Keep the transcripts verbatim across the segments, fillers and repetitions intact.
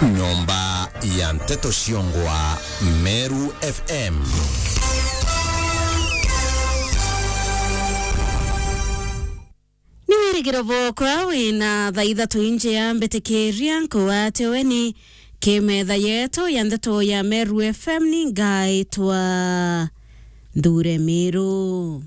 Nyomba ya nteto ciongwa Meru F M. Ni wirigiro bwokwa wina thaa ithatu injia mbitikiria nkugwate weni ki metha yetu ya nteto ya Meru F M, ni ngaitwa Nthure Miru.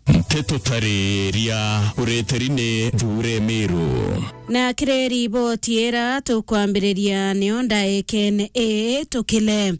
Nteto tariria ureteri ni Nthure Miru. Na kiri riboti ira tukwambiriria nio ndaikene ii tukile.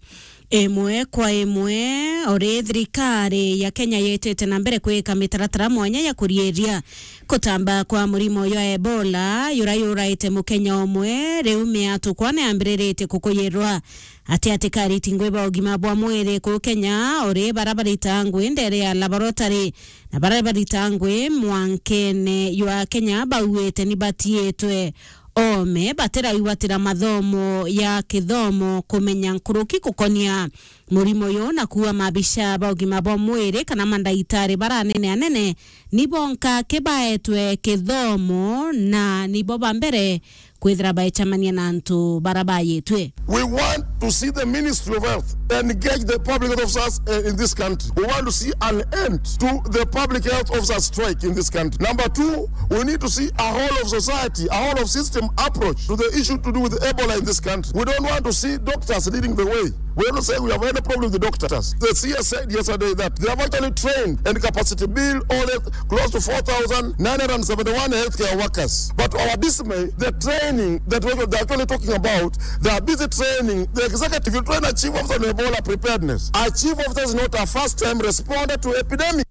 Imwe kwa imwe, uri thirikari ya Kenya yitite na mbere kwika mitaratara mwanya ya kuriiria kutamba kwa murimo jwa Ebola, jura juraite Mukenya umwe, riu miatukwa ni yambiriritie kukuyirwa ati atikari tingwi ba ugima bwa mwiri ku Kenya, uri bara barita ngui ndere ya laboratory na bara barita ngui mwankene jwa Kenya bauite ni batiitwe oome batiraigwatira mathomo ya kithomo kumenya nkuruki gukonia murimo uyu, na kuua maabisa ba ugima bwa mwiri kana mandagitari bara anene anene, nibo nka ki baetwe kithomo na nibo ba mbere kwithira baecemania na antu bara bayitwe. We want to see the Ministry of Health engage the public health officers, uh, in this country. We want to see an end to the public health officers strike in this country. Number two, we need to see a whole of society, a whole of system approach to the issue to do with Ebola in this country. We don't want to see doctors leading the way. We don't say we have any problem with the doctors. The C S said yesterday that they have actually trained and capacity built all the close to four thousand nine hundred seventy-one healthcare workers. But our dismay, the training that we, they're actually talking about, they are busy training the executive to train a chief officer on Ebola preparedness. A chief officer is not a first time responder to epidemic.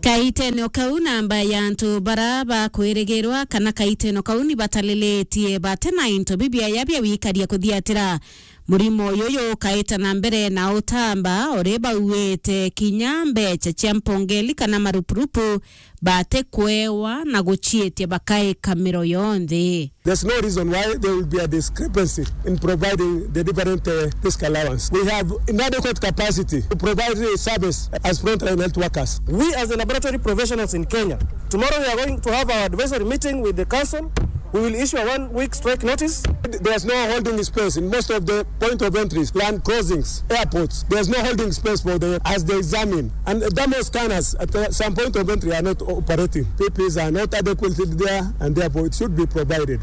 Kaitene o kau, namba ya antu bara bakwirigirwa kana kaitene o kau ni batalilitie bati na into bibiaya bia wikaria kuthiatira murimo uyu jukaita na mbere na utamba, uri bauite kinya mbecha cia mpongeli kana marupurupu batikwewa na guciitia bakaika miro yonthe. There's no reason why there will be a discrepancy in providing the different, uh, risk allowance. We have inadequate capacity to provide the service as frontline health workers. We as the laboratory professionals in Kenya, tomorrow we are going to have our advisory meeting with the council. We will issue a one week strike notice. There's no holding space in most of the point of entries, land crossings, airports. There's no holding space for the, as they examine. And thermal scanners at, uh, some point of entry are not operating. P P Es are not adequately there, and therefore it should be provided.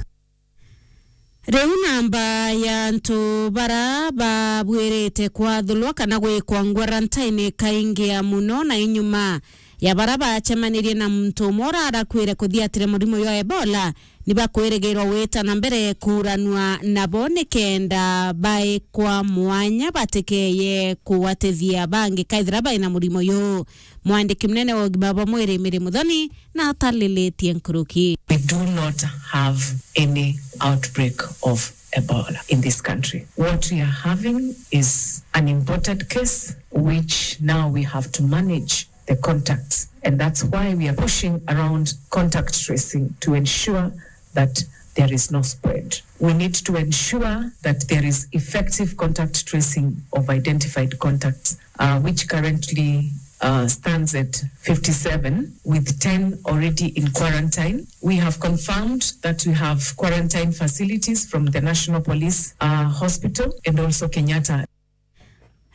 Riu namba ya antu bara babwirite kwathulwa kana gwikwa quarantine ikaingia muno, na inyuma ya bara bacemanirie na muntu umwe urarakwire kuthiatire murimo jwa Ebola, ni bakwirigirwa gwita na mbere kuuranua nabo nikenda baikwa mwanya batikeye kugwatithia bangi kaithira bai na murimo juu. Mwandiki munene wa ugima bwa mwiri Mary Muthoni na atalilitie nkuruki. We do not have any outbreak of Ebola in this country. What we are having is an imported case, which now we have to manage the contacts. And that's why we are pushing around contact tracing to ensure that there is no spread. We need to ensure that there is effective contact tracing of identified contacts, uh, which currently, uh, stands at fifty-seven, with ten already in quarantine. We have confirmed that we have quarantine facilities from the National Police, uh, Hospital and also Kenyatta.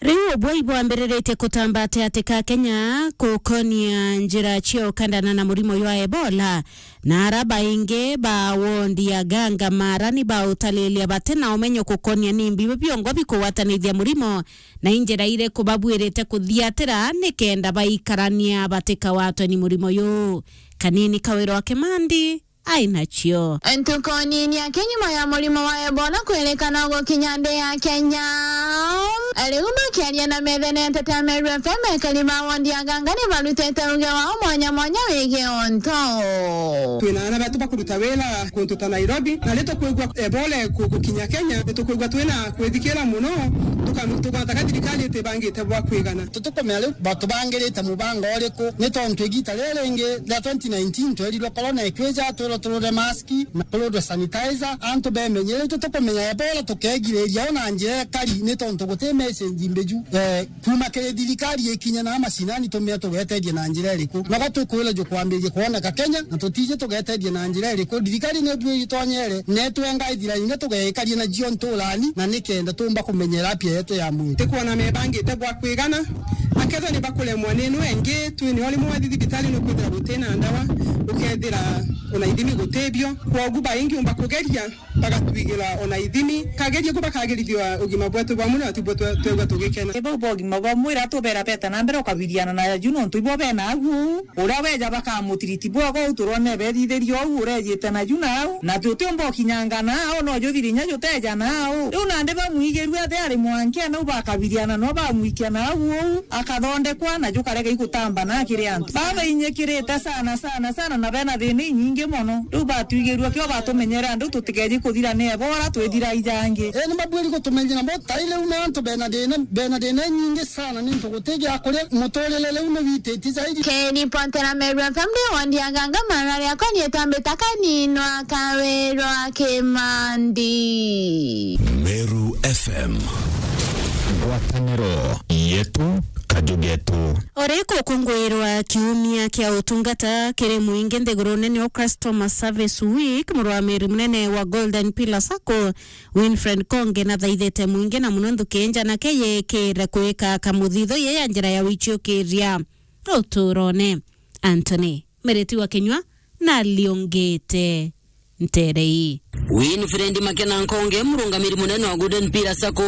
Riu ubwai bwambiriritie kutamba ati ati ka Kenya kukonia njira cia ukandana na murimo jwa Ebola, na ara baingi ba wondi ya Ganga Mara ni bautalilia bati na umenyo kukonia ni mbi biongo bikugwatanithia murimo, na i njira iriku babwirite kuthiatira nikenda baikarania batikawatwe ni murimo juu. Kanini Kawira wa Kimandi ai nacio. Ntukoni ni ake nyuma ya murimo wa Ebola kwirikana gukinya nthi ya Kenya, riu bakiaria na metha na nteto ya Meru F M, ekari ba wondi ya Ganga ni barutite uge wao mwanya mwanya wigii untu. Twina aana betu bakuruta wira kuntu ta Nairobi, na ri tukwigua Ebola iku-, gukinya Kenya, ni tukwigua twina kwithikira muno, tuka-, tugataka thirikari itibangite bwa kwigana. Tutukumenya riu batubangirite mubango uriku, ni tontu igita riri ringi ria twenty nineteen twerirwe corona ikwija, twirwe Turure mask na turure sanitizer, antu bemenyeretie. Tukumenya Ebola tukegiriria ona njira ikari, ni tontu guti message mbiju, eh, kuma kiri thirikari ikinye na macinani tumie tugeteria na njira iriku. Noga tukwira jukwambiria kwoneka Kenya, na tutiji tugeteria na njira iriku. Thirikari ni bu itonyere, netwenga ithira ingi tugeikaria na jio nturani, na nikenda tumba kumenyera apia yetu ya mwiri. Tikwona mebangite bwa kwigana, akethwa ni bakuremwa ni ino engi, twinio rimwe wathi thibitari nukwithira gutina ndawa, ukethira ona ithimi gutibio. Kwogu baingi umba kugeria bagatwigira ona ithimi, kageria ku bakagirithia ugima bwetu bwa mwiri, na tibwo twe-, twegua tugikena. Ni bau ba ugima bwa mwiri atubera beta na mbere ukabiriana na ju nontu ibo bena agu. Uria weja bakamutiriti bwega uu turone bethithirie uu urejite na ju nau, na tutiumba ukinyanga nau, no juthiri inya juteja nau. Riu nandi bamwigirue athi ari mwankia nau bakabiriana no bamwikia nau uu, akathondekwa na jukarega igutamba na kiri antu. Babainyikirite sana, sana, sana, na bena thina inyingi mono. Riu batwigirue kio batumenyere andu tutikeji kuthira ni Ebola, twithira ijangi. Ii, ni mabwiri gutumenyera bo tai riu ni antu bena thina, bena thina inyingi sana, ni ntu guti gia kuria, muturire riu ni wititie zaidi. Keni Pontera Meru F M ni wondi ya Nganga, mara riakwa ni etambita Kaninwa Kawirwa Kimandi. Meru F M. Ngwataniro yetu, kaju getu. Ori gukungwirwa kiumia kia utungata kiri muingi nthiguru nene o Customer Service Week, murwamiri munene wa Golden Pillar Sacco, Winfred Konge, nathaithite muingi na muno nthuki njanake yikire kwika kamuthitho ye ya njira ya wichiukiria uturone. Anthony Miriti wa Kinyua na aliongete ntere ii. Winfred Makena Nkonge, murungamiri munene wa Golden Pillar Sacco,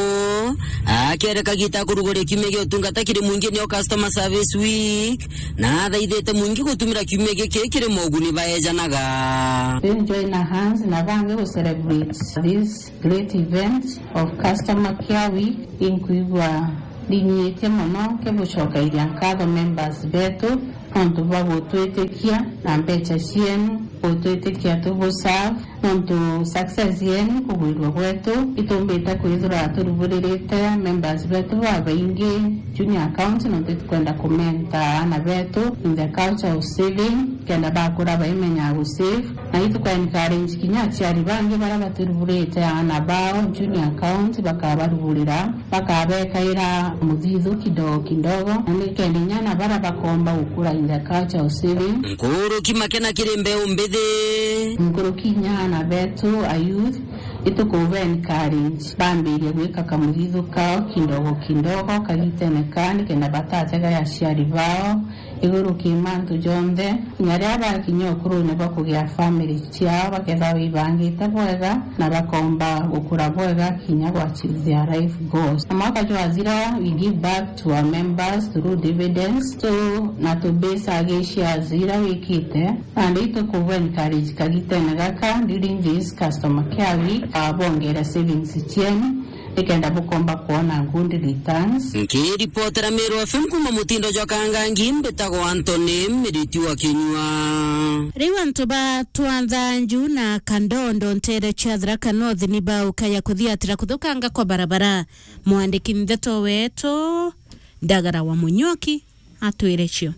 akiere kagita kuruguria kiumia gia utungata kiri muingi nio Customer Service Week, na athaithite muingi gutumira kiumia giki kiri moguni baejanaga. Then join our hands na bangi gu celebrate this great event of Customer Care Week. Inkwigua ndinyiitie mono nkibucokairia nkatho members betu nontu bwa gutwitikia na mbecha cienu, gutwitikia tubu serve, nontu success yenu kugwirua gwetu, itumbite kwithirwa turuburirite members betu babaingi junior account, nontu itukwenda kumenta aana betu in the culture of saving, kenda bakura baimenyaga gu save. Na ituku encourage kinya aciari bangi baria batiruburite aana bao junior account, bakabaruburira, bakabekaira muthithu kidogo kidogo, na nikenda inya aana baria bakomba gukura in the culture of saving. Nkuruki Makena kiri mbeu mbithi. Nkuruki inya aana betu a youth, itukuba encourage bambirie gwika kamuthithu kao kidogo kidogo kagitene kaa, nikenda batatega aciari bao iguru ki mantu jonthe, kinya riria bakinya ukurune bwa kugia family ciao, bakethirwa bibangite bwega na bakomba gukura bwega kinya gwa achieve their life goals. Na mwaka jwathira, we give back to our members through dividends, so na tu base agi shares ira wikite, nandi itukubu encourage kagitene gaka during this customer care week, ah, bongere savings cienu, nikenda bukomba kwona good returns. Nkiripotera Meru F M kuma mutindo jwa Kangangi, mbitagwa Anthony Miriti wa Kinyua. Riu antu ba Twanthanju na Kandondo ntere cia Tharaka North ni baukaya kuthiatira kuthukanga kwa barabara. Mwandiki ndeto wetu Ndagara wa Munyoki atwire cio.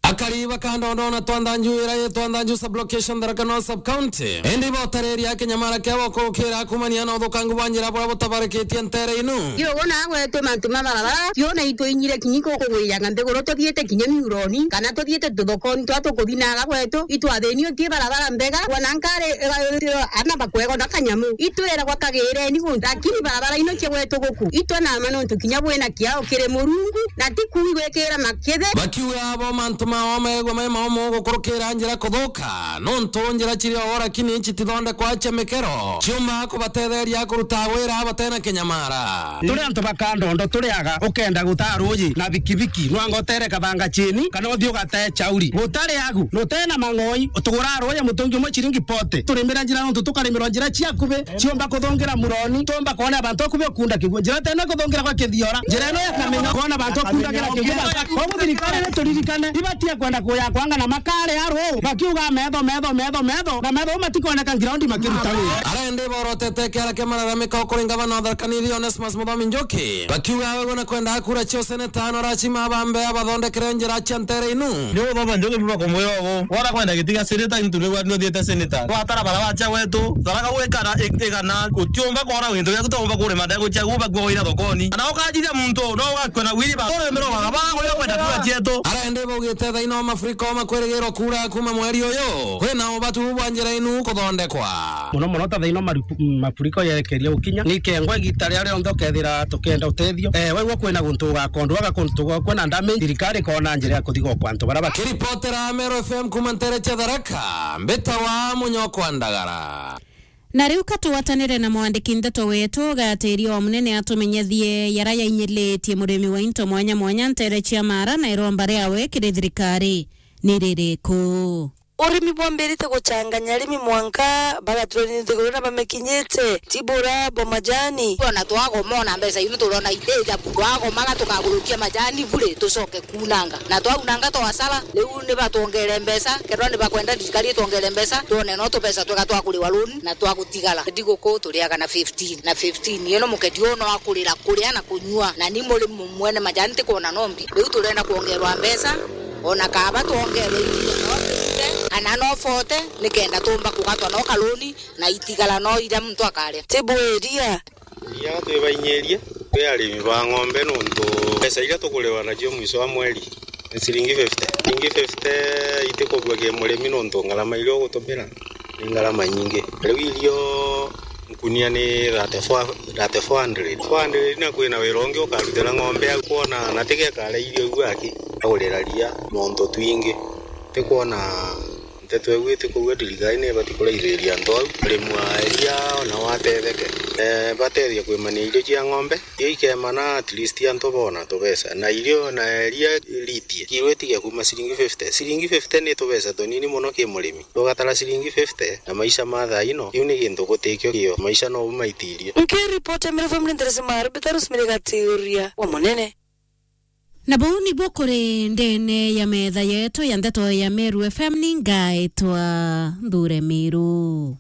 Akari ba Kandondo na Twanthanju ira i Twanthanju sub-location Tharaka North sub-county, indi ibotareria kinyamara kia gukurukira kumania na uthukangu bwa njira buria butabarikitie ntere inu. Iyo wona gwetu mantu ma barabara, tiona itwinyire kinya ikukugwiyanga nthiguru tuthiite kinya miuroni, kana tuthiite tuthokoni twa tukuthinaga gwetu, itwathinio ti barabara mbega, wona nkari, eh, ana bakwegona kanyamu, itwiragwa kagireni gu, lakini barabara ino cia gwetu guku, itwe nama nontu kinya bwina kiao kiri Murungu, na ti kuu igwikira makithe. Bakiuga abo mantu mao megwa mai maomo gukurukira njira kuthuka, nontu njira ciri o lakini citithondekwa cia mikero, ciumba kubatetheria kuruta wira batena kinyamara. Turi antu ba Kandondo turiaga, ukenda gutaa ruuji na bikibiki, nwanga utere kathanga chini, kana uthii ugatee chauri. Gutari agu, nutena mang'oi, utugura ruuji mutungi umwe chiringi forty. Turimira njira nontu tukarimirwa njira cia kubi, ciumba kuthungira muroni, tumba kwona abantu akubi ukunda kigua. Njira tena kuthungira gwa kithiora, njira ino ya kamenya, kwona abantu akundagira kigua. Koguo thirikari ni turirikane, ibati Kwenda kuya kwanga na makare aru, bakiuga metho, metho, metho, metho, na metho matikoneka ground makiruta wira. Arende borotete kiara kia malalamiko kuri ngavana wa Tharaka Nithi Onesmus Muthomi Njuki, bakiuga we na kwenda kura cio seneta no rachima bambe abathondekere njira cia ntere inu. Ndio baba Njuki biba kumwira ugu, wona kwenda giti gia seneta into nigwa ndio thiete seneta. Watara bara wacha wetu, Tharaka gwikara ik-, igana, utiumba kwona winto ya kutomba kuri madago cia guba kwa wira thokoni. Ana ukajithia muntu, no ugakua na wiri ba. Ore mero baba, baba, kwenda kura cietu. Arende baugite thaino mafuriko makwirigirwo kura kuma mweri uyu. Kwina ubatu bwa njira inu kuthondekwa. Muno muno ta thaino maripu-, mafuriko yekeria gukinya. Ni kengwa igita ria rionthe ukethira tukienda utethio. Eh, waigua kwina guntu ugakondwaga kuntu gwa kwina damage, thirikari ikona njira ya kuthiga kwa antu bara ba. Kiripotera Meru F M kuma ntere cia Tharaka, mbita wa Munyokwa Ndagara. Na riu ka tugwatanire na mwandiki ndeto wetu Gatiria wa Munene atumenyethie yara yainyilitie murimi wa into mwanya mwanya ntere cia Mara na iromba riawe kiri thirikari ni ririku. Urimi bwambirite guchanganya arimi mwanka bagaturania nthiguru na bamekinyite, tibura bwa majani. Ona twagoma ona mbeca inu turona iteja, twagomaga tukagurukia majani bure tucoke kunanga. Na twaunanga twasara, riu ni batwongere mbeca, kethirwa ni bakwenda thirikari itwongere mbeca, twone no tubeca twega twa kuriwa loan na twa gutigara. Thiguku turiaga na fifteen, na fifteen. Iyo no muketi uyu no akurira kuria na kunyua, na ni muri mu-, mwene majani ntikwona no mbi. Riu turenda kwongerwa mbeca, ona kaba twongerwe iria no fifty, kana no forty, nikenda tumba kugatwa no kaloni, na itigara no iria muntu akaria. Tibu iria. Iria twibainyirie, twi arimi ba ng'ombe nontu mbeca iria tukuriwa nacio mwico wa mweri ni ciringi fifty. Ciringi fifty itikubua ki murimi nontu ngarama iria ugutumira ni ngarama nyingi. Riu irio nkunia ni thirty-four, thirty-four hundred. Four hundred na kwina wira ungi ukarutira ng'ombe au kwona na tigekare irio iu aki agurira ria nontu twingi. Tikwona Nteto iu itikuuga thirikari ni ibati kuraithiria antu au, arimi a iria ona watetheke. Eh, batethia kwimania irio cia ng'ombe, irio ikemana at least antu bona tubeca. Na irio na iria ritie, kiro itige kuuma ciringi fifty. Ciringi fifty ni tubeca tunini mono ki murimi. Tugatara ciringi fifty na maisha ma thaa ino, iu ni gintu gutikio kio. Maisha no umaitirie. Nkiripoti Meru F M ni Therese Maru, Peterus Mirigatiuria wa Munene. Na buu nibuo kuri ndene ya metha yetu ya ndeto ya Meru F M, ni ngaitwa Nthure Miru.